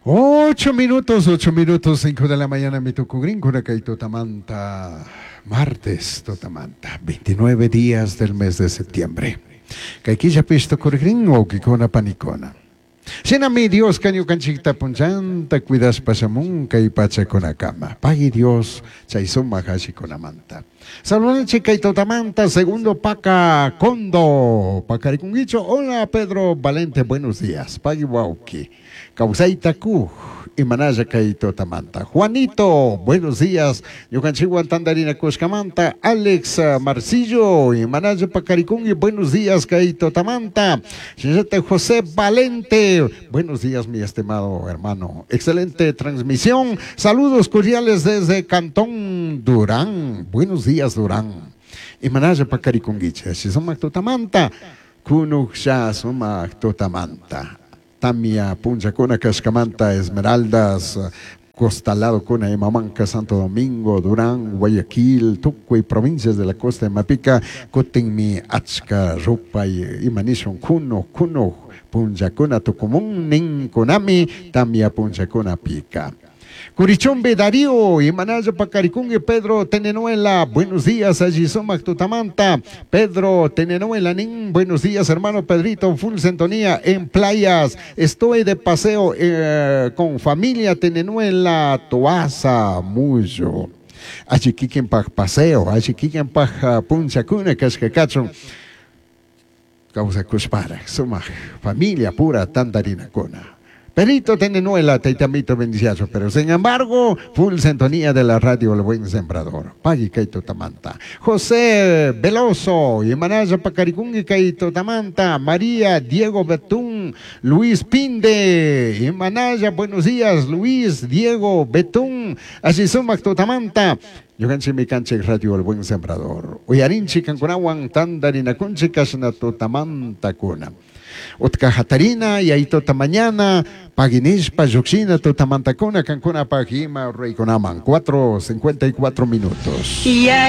8 minutos, 8 minutos, 5 de la mañana, mi tukugrinkuna kay tutamanta, martes tutamanta, 29 días del mes de septiembre. Kay killapish tukurigrin wawkikuna panikuna. Shinami Dios ñukanchikta punchanta cuidashpa shamun kay pachakunakama. Pagui Dios chay sumak allikunamanta. Saludanchik kay tutamanta, segundo Paca Condo. Pacarikunguicho. Hola Pedro Valente, buenos días. Pagui wawki. Kawsayta kuk. Imanalla kay tutamanta. Juanito, buenos días. Ñukanchikwan tandarina kushkamanta. Alex Marcillo, imanalla pacarikungi, buenos días kay tutamanta. Señorita José Valente, buenos días mi estimado hermano. Excelente transmisión. Saludos cordiales desde Cantón Durán. Buenos días Durán. Imanalla pacarikunguicha. Sumak tutamanta. Kunuksha sumak tutamanta. Tamia punchakuna kashkamanta Esmeraldas costalado kuna Imamanca, Santo Domingo, Durán, Guayaquil, tukuy provincias de la costa de Mapica, kutinmi achka rupay imanishun kuno kuno punchakuna tukumun ninkunami tamia punchakuna pika. Curichumbe Darío, Imanaya Pacarikungue, Pedro Tenenuela, buenos días, allí sumak tutamanta. Pedro Tenenuela, nin, buenos días, hermano Pedrito, full sintonía en playas. Estoy de paseo con familia Tenenuela, Toaza, Muyo. Allí kikin paj paseo, allí kikin paj punchakuna, kashkakachun. Kawsakushpara, sumak familia pura tandarinakuna. Perito Tenenuela, taitamito bendiciazo, pero sin embargo, full sintonía de la radio El Buen Sembrador. Pagui kaito tamanta. José Veloso, Imanaya Pacaricungi kaito tamanta. María Diego Betún, Luis Pinde, Imanaya, buenos días, Luis Diego Betún, así sumak tutamanta. Ñukanchik mikanchik Radio El Buen Sembrador. Uyarinchik kankunawan tandarinakunchik kashna tutamanta kuna. Utka hatarina y ahí tota mañana paginishpa llukshina tutamantakuna kankuna pagima reykunaman 4:54 minutos.